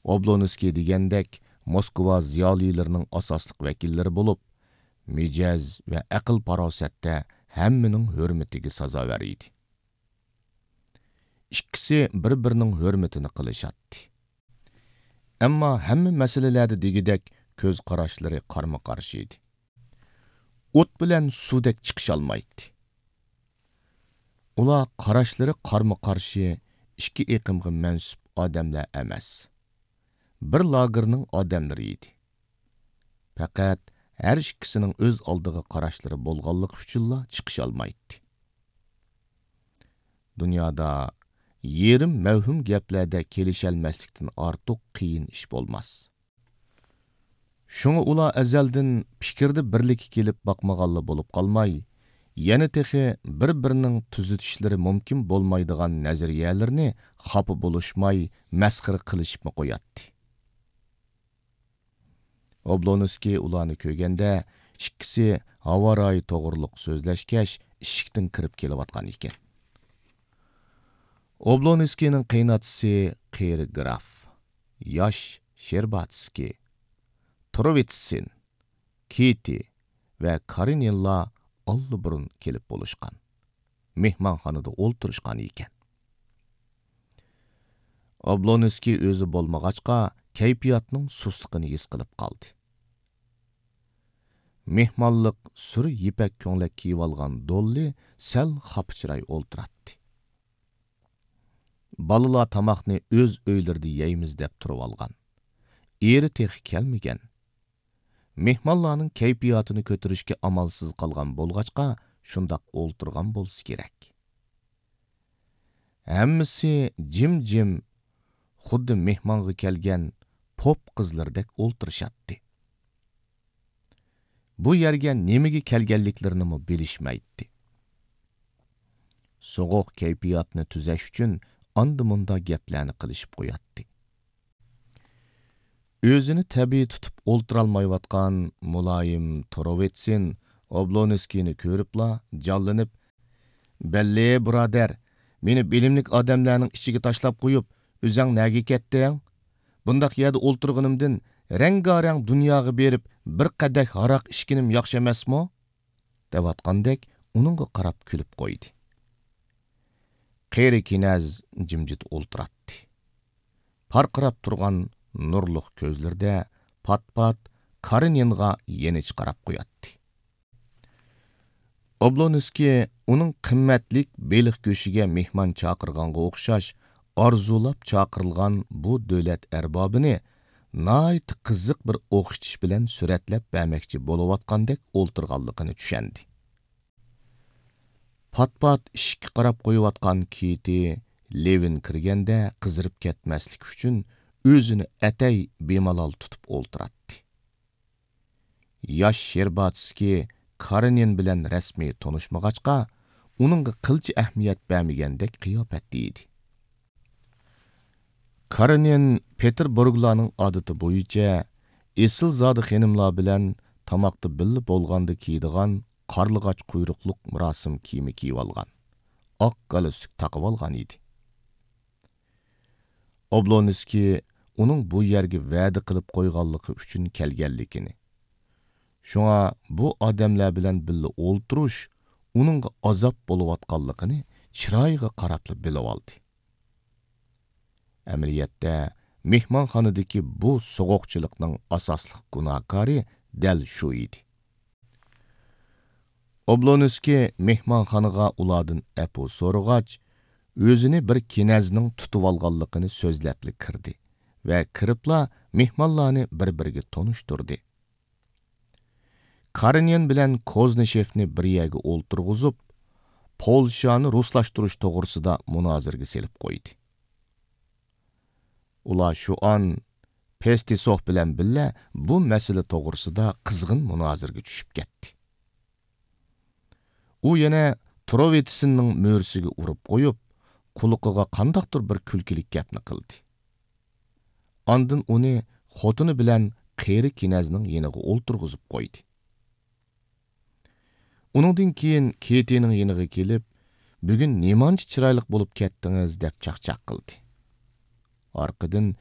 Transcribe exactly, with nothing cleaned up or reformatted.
ئوبلونسكىي دېگەندەك موسكۋا زىيالىيلىرىنىڭ ئاساسلىق ۋەكىللىرى بولۇپ، مىجەز ۋە ئەقىل-پاراسەتتە ھەممىنىڭ ھۆرمىتىگە سازاۋەر ئىدى. ئىككىسى بىر-بىرىنىڭ ھۆرمىتىنى قىلىشاتتى. ئەمما ھەممە مەسىلىلەردە دېگۈدەك كۆز قاراشلىرى قارمۇ-قارشى ئىدى. ئوت بىلەن سۇدەك چىقىشالمايتتى. ئۇلار قاراشلىرى قارمۇ-قارشى ئىككى ئېقىمغا مەنسۇپ ئادەملەر ئەمەس، بىر لاگېرنىڭ ئادەملىرى ئىدى. پەقەت ھەر ئىككىسىنىڭ ئۆز ئالدىغا قاراشلىرى بولغانلىقى ئۈچۈنلا چىقىشالمايتتى. دۇنيادا يېرىم مەۋھۇم گەپلەردە كېلىشەلمەسلىكتىن ئارتۇق قىيىن ئىش بولماس. شۇڭا ئۇلار ئەزەلدىن پىكىردە بىرلىككە كېلىپ باقمىغانلا بولۇپ قالماي، يەنە تېخى بىر-بىرىنىڭ تۈزىتىشلىرى مۇمكىن بولمايدىغان نەزەرىيەلىرىنى خاپا بولۇشماي، مەسخىرە قىلىشىپمۇ قوياتتى. ئوبلونسكىي ئۇلارنى كۆرگەندە، ئىككىسى ھاۋا رايى توغرۇلۇق سۆزلەشكەچ، ئىشىكتىن كىرىپ كېلىۋاتقان ئىكەن. ئوبلونسكىينىڭ قېيىنئاتىسى قېرى گراف، ياش شېرباتسكىي، تروۋىتسىن، كىتى ۋە كارېنىنلار ئاللىبۇرۇن كېلىپ بولۇشقان، مېھمانخانىدا ئولتۇرۇشقان ئىكەن. ئوبلونسكىي ئۆزى بولمىغاچقا، كەيپىياتنىڭ سۇسلۇقىنى ھېس قىلىپ قالدى. مېھمانلىق سۈر يىپەك كۆڭلەك كىيىۋالغان دوللى سەل خاپا چىراي ئولتۇراتتى. بالىلار تاماقنى ئۆز ئۆيلىرىدە يەيمىز دەپ تۇرۇۋالغان. ئېرى تېخى كەلمىگەن. مېھمانلارنىڭ كەيپىياتىنى كۆتۈرۈشكە ئامالسىز قالغان بولغاچقا، شۇنداق ئولتۇرغان بولسا كېرەك. ھەممىسى جىمجىم، خۇددى مېھمانغا كەلگەن پوپ قىزلىرىدەك ئولتۇرۇشاتتى. بۇ يەرگە نېمىگە كەلگەنلىكلىرىنىمۇ بىلىشمەيتتى. سوغۇق كەيپىياتنى تۈزەش ئۈچۈن ئاندا-مۇندا گەپلەرنى قىلىشىپ قوياتتى. ئۆزىنى تەبىئىي تۇتۇپ ئولتۇرالمايۋاتقان مۇلايىم تروۋىتسىن ئوبلونسكىينى كۆرۈپلا جانلىنىپ، «بەللى، بۇرادەر، مېنى بىلىملىك ئادەملەرنىڭ ئىچىگە تاشلاپ قويۇپ، ئۆزەڭ نەگە كەتتىڭ؟ بۇنداق يەردە ئولتۇرغىنىمدىن رەڭگارەڭ دۇنياغا بېرىپ، بىر قەدەھ ھاراق ئىچكىنىم ياخشى ئەمەسمۇ؟» دەۋاتقاندەك ئۇنىڭغا قاراپ كۈلۈپ قويدى. قېرى كىنەز جىمجىت ئولتۇراتتى. پارقىراپ تۇرغان نۇرلۇق كۆزلىرىدە پات-پات كارېنىنغا يېنىچە قاراپ قوياتتى. ئوبلونسكىي ئۇنىڭ قىممەتلىك بېلىق گۆشىگە مېھمان چاقىرغانغا ئوخشاش ئارزۇلاپ چاقىرىلغان بۇ دۆلەت ئەربابىنى ناھايىتى قىزىق بىر ئوخشىتىش بىلەن سۈرەتلەپ بەرمەكچى بولۇۋاتقاندەك ئولتۇرغانلىقىنى چۈشەندى. پات-پات ئىشىككە قاراپ قويۇۋاتقان كىتى لېۋىن كىرگەندە قىزىرىپ كەتمەسلىك ئۈچۈن ئۆزىنى ئەتەي بىمالال تۇتۇپ ئولتۇراتتى. ياش شېرباتسكىي كارېنىن بىلەن رەسمىي تونۇشمىغاچقا، ئۇنىڭغا قىلچە ئەھمىيەت بەرمىگەندەك قىياپەتتە ئىدى. كارېنىن پېتېربۇرگلارنىڭ ئادىتى بويىچە ئېسىلزادە خېنىملار بىلەن تاماقتا بىللە بولغاندا كىيىدىغان قارلىغاچ قۇيرۇقلۇق مۇراسىم كىيىمى كىيىۋالغان، ئاق گالستۇك تاقىۋالغان ئىدى. ئوبلونسكىي ئۇنىڭ بۇ يەرگە ۋەدە قىلىپ قويغانلىقى ئۈچۈن كەلگەنلىكىنى، شۇڭا بۇ ئادەملەر بىلەن بىللە ئولتۇرۇش ئۇنىڭغا ئازاب بولۇۋاتقانلىقىنى چىرايىغا قاراپلا بىلىۋالدى. ئەمەلىيەتتە، مېھمانخانىدىكى بۇ سوغۇقچىلىقنىڭ ئاساسلىق گۇناھكارى دەل شۇ ئىدى. ئوبلونسكىي مېھمانخانىغا ئۇلاردىن ئەپۇ سورىغاچ، ئۆزىنى بىر كىنەزنىڭ تۇتۇۋالغانلىقىنى سۆزلەپلا كىردى ۋە كىرىپلا مېھمانلارنى بىر-بىرىگە تونۇشتۇردى. كارېنىن بىلەن كوزنىشېفنى بىر يەرگە ئولتۇرغۇزۇپ، پولشانى رۇسلاشتۇرۇش توغرىسىدا مۇنازىرىگە سېلىپ قويدى. ئۇلار شۇ ئان پېستىسوف بىلەن بىللە بۇ مەسىلە توغرىسىدا قىزغىن مۇنازىرىگە چۈشۈپ كەتتى. ئۇ يەنە تروۋىتسىننىڭ مۈرىسىگە ئۇرۇپ قويۇپ، قۇلىقىغا قانداقتۇر بىر كۈلكىلىك گەپنى قىلدى. ئاندىن ئۇنى خوتۇنى بىلەن قېرى كىنەزنىڭ يېنىغا ئولتۇرغۇزۇپ قويدى. ئۇنىڭدىن كېيىن كېتىنىڭ يېنىغا كېلىپ، «بۈگۈن نېمانچە چىرايلىق بولۇپ كەتتىڭىز» دەپ چاقچاق قىلدى. ئارقىدىن